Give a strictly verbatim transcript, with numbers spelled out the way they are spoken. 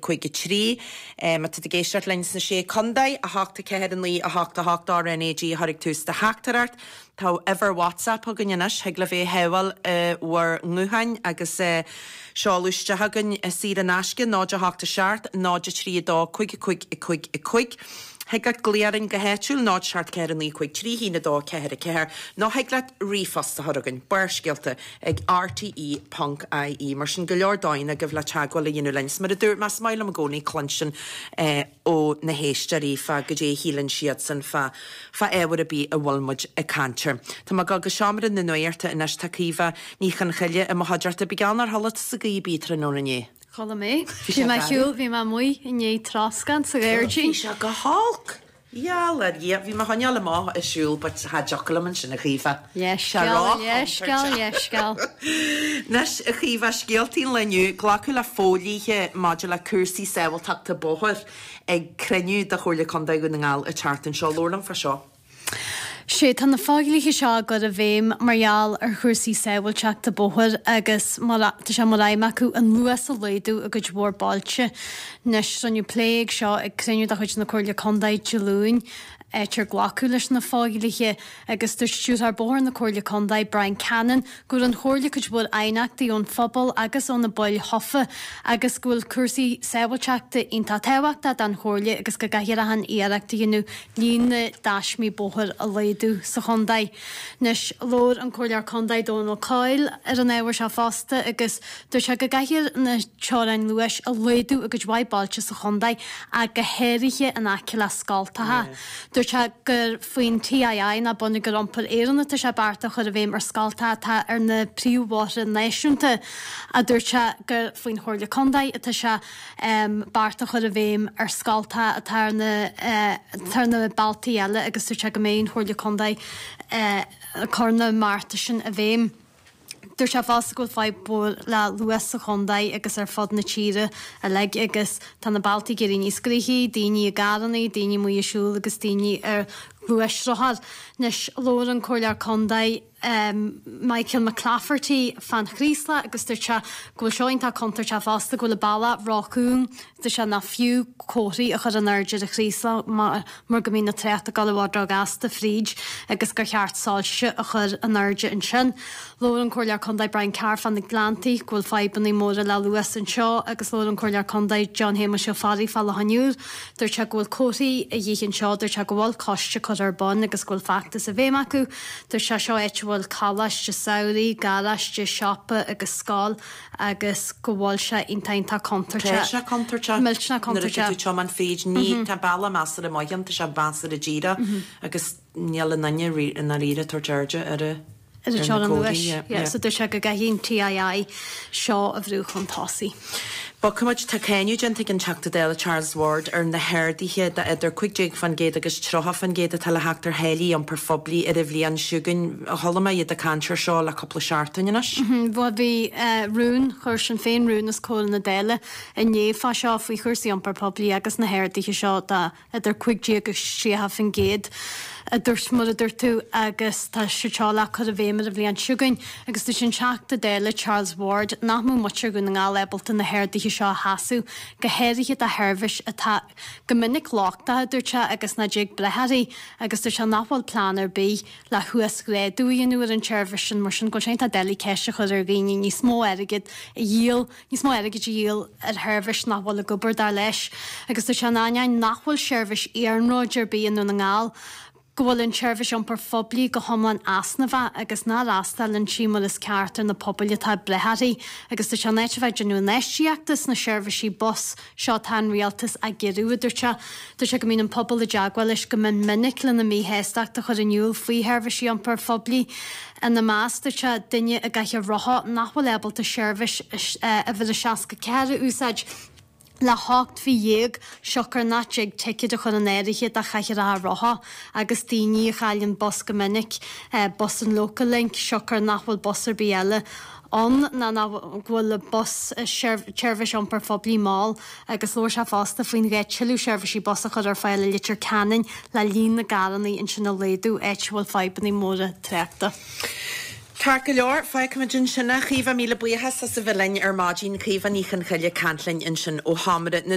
cúig a trí. Má tá tú ag éisteacht linn sna Sé Chontae, a hocht a ceathair a naoi a hocht a hocht R N A G a chur ag tús do theachtaireacht. Tá uimhir WhatsApp againn anois, thig libh é a shábháil i bhur ngutháin agus seoladh isteach chugainn saor in aisce, náid a hocht a seacht, náid a trí a dó, cúig a cúig a cúig a cúig. Thig leat glaoch orainn go háitiúil, náid seacht ceathair a naoi cúig trí haon a dó ceathair a ceathair, nó thig leat ríomhphost a chur chugainn, Barrscéalta ag R T E ponc I E. Mar sin go leor dóigheanna agaibh le teagmháil a dhéanamh linn. Is mar a dúirt mé, is maith liom i gcónaí cluinstin ó na héisteoirí fá goidé a shíleann siadsan fá fá ábhar ar bith a bhfuil muid ag caint air. Tá mé ag dul go seomra na nuachta anois, tá Caoimhe Ní Chonchoille i mo chuideachta. Bí geall nár chodlaigh tusa go bith tráthnóna inné. Chodlaigh mé. Bhí mé ar shiúl, bhí mé amuigh i ndiaidh troscán sa ghairdín. Bhí sé go holc! Gheall ar Dhia, bhí mé a choinneáil amach ag siúl but cha dtiocfadh liom ansin a Chaoimhe. Leithscéal, leithscéal, leithscéal. Anois a Chaoimhe, scéaltaí an lae inniu, glacadh le fodhlíthe maidir le cúrsaí sábháilteachta bóthair ag cruinniú de Chomhairle Contae Dhún na nGall an tseachtain seo. Labhair liom fá seo. Sé, tá na fodhlíthe seo á gcur i bhfeidhm mar gheall ar chúrsaí sábháilteachta bóthair agus mar tá sé mar aidhm acu an luas a laghdú i gcuid mhór bailte. Anois, rinneadh plé air seo ag cruinniú de chuid na Comhairle Contae Dé Luain, áit ar glacadh leis na fodhlíthe agus dúirt Stiúrthóir Bóthair na Comhairle Contae, Brian Cannon, go bhfuair an Chomhairle cuid mhór aighneachtaí ón phobal agus ó na baill thofa agus go bhfuil cúrsaí sábháilteachta iontach tábhachtach don Chomhairle agus go gcaithfear achan iarracht a dhéanamh líon na dtaismí bóthair a laghdú sa chontae. Anois, labhair an Comhairleoir Contae Dónal Coyle ar an ábhar seo fosta agus dúirt sé go gcaithfear na teorainn luais a laghdú i gcuid mhaith bailte sa chontae ach go háirithe in aice le scoltacha. Dúirt sé gur faoin T I I ná Bonneagar Iompair Éireann atá sé bearta a chur i bhfeidhm ar scoltacha atá ar na príomhbhóithre náisiúnta ach dúirt sé gur faoin Chomhairle Contae atá sé bearta a chur i bhfeidhm ar scoltacha atá ar na atá ar na bealtaí eile agus dúirt sé go mbeidh an Chomhairle Contae ag cur na mbearta sin i bhfeidhm. Dúirt sé fosta go bhfuil fadhb mhór le luas sa chontae agus ar fud na tíre uilig agus tá na bealtaí ag éirí níos gnoithí, daoine i gcarrannaí, daoine amuigh ag siúl agus daoine ar ghluaisrothair. Anois, labhair an Comhairleoir Contae Michael McClafferty fán Chraoslach agus dúirt sé go bhfuil seo iontach contúirteach fosta, go bhfuil an bealach róchúng, dúirt sé nach fiú comharthaí a chur in airde ar an Chraoslach mar mar go mbíonn an trácht ag dul i bhfad róghasta fríd agus gur cheart soilse a chur in airde ansin. Labhair an Comhairleoir Contae Brian Carr fá na Gleanntaí, go bhfuil fadhbanna móra le luas anseo agus labhair an Comhairleoir Contae John Shéamuis Ó Fearraigh fá Loch an Iúir. Dúirt sé go bhfuil comharthaí a dhíth anseo, dúirt sé go bhfuil coiste curtha ar bun agus go bhfuil feachtas i bhfeidhm acu. Dúirt sé seo áit a bhfuil coláiste samhraidh, garáiste, siopa agus scoil agus go bhfuil sé iontach iontach contúirteach. Tá sé contúirteach. Millteanach Nuair atá contúirteach. tú ag tiomáint fríd, ní, tá bealach measartha maith ann, tá sé measartha díreach agus níl aon duine i ndáiríre ag tabhairt airde ar a Ar an ar na teorainn comharthaí, luais. yeah, Yeah, yeah. so dúirt sé go gcaithfidh an T I I seo a bhrú chun tosaigh. Bogfaimid, tá cáineadh déanta ag an Teachta Dála Charles Ward ar na harduithe de idir cúig déag faoin gcéad agus tríocha faoin gcéad atá le theacht ar tháillí iompair phoiblí ar an bhliain seo chugainn. Chuala mé iad ag caint air seo le cúpla seachtain anois. Bhuel, bhí rún, chuir Sinn Féin rún os comhair na Dála inné fá seo, faoi chúrsaí iompair poiblí agus na harduithe seo de idir cúig déag agus tríocha faoin gcéad, a dúirt, mar a dúirt tú, agus tá siad seo le cur i bhfeidhm ar an bhliain seo chugainn. Agus dúirt an Teachta Dála Charles Ward nach mbeadh muintir Dhún na nGall ábalta na harduithe seo a sheasamh, go háirithe do sheirbhís atá go minic lochtach, a dúirt sé, agus nach dtig breith uirthi, agus dúirt sé nach bhfuil plean ar bith le huasghrádú a dhéanamh ar an tseirbhís sin, mar sin go bhfuil sé iontach doiligh ceist a chur ar dhaoine níos mó airgid a dhíol, níos mó airgid a dhíol ar sheirbhís nach bhfuil ag obair, dar leis. Agus dúirt sé in ainneoin nach bhfuil seirbhís iarnróid ar bith i nDún na nGall, go bhfuil an tseirbhís iompair phoiblí go hiomlán easnamhach agus nach fhreastalaíonn sí mar is ceart ar na pobail atá ag brath uirthi agus dúirt sé in áit a bheith ag déanamh infheistíochta sna seirbhísí bus seo tá an rialtas á gciorrú, a dúirt sé. Dúirt sé go mbíonn an pobal i dteagmháil leis go mion minic lena míshástacht a chur in iúl faoi sheirbhísí iompair phoiblí. Ina measc, dúirt sé, duine i gcathaoir rotha nach bhfuil ábalta seirbhís uimhir a seasca ceathair a úsáid, le hocht mhí dhéag siocair nach dtig ticéad a chur in áirithe do chathaoireacha rotha agus daoine a chailleann bus go minic, bus an Local Link, siocair nach bhfuil bus ar bith eile ann ná nach go bhfuil an bus tseirbhís iompair phoiblí mall agus labhair sé fosta faoin ghá tuilleadh seirbhísí bus a chur ar fáil i Leitir Ceanainn le líon na gcarranna ansin a laghdú, áit a bhfuil fadhbanna móra tráchta. Ceart go leor, fágfaimid ansin é. Caoimhe, míle buíochas as a bheith linn ar maidin. Caoimhe Ní Chonchoille ag caint linn ansin ó Sheomra na.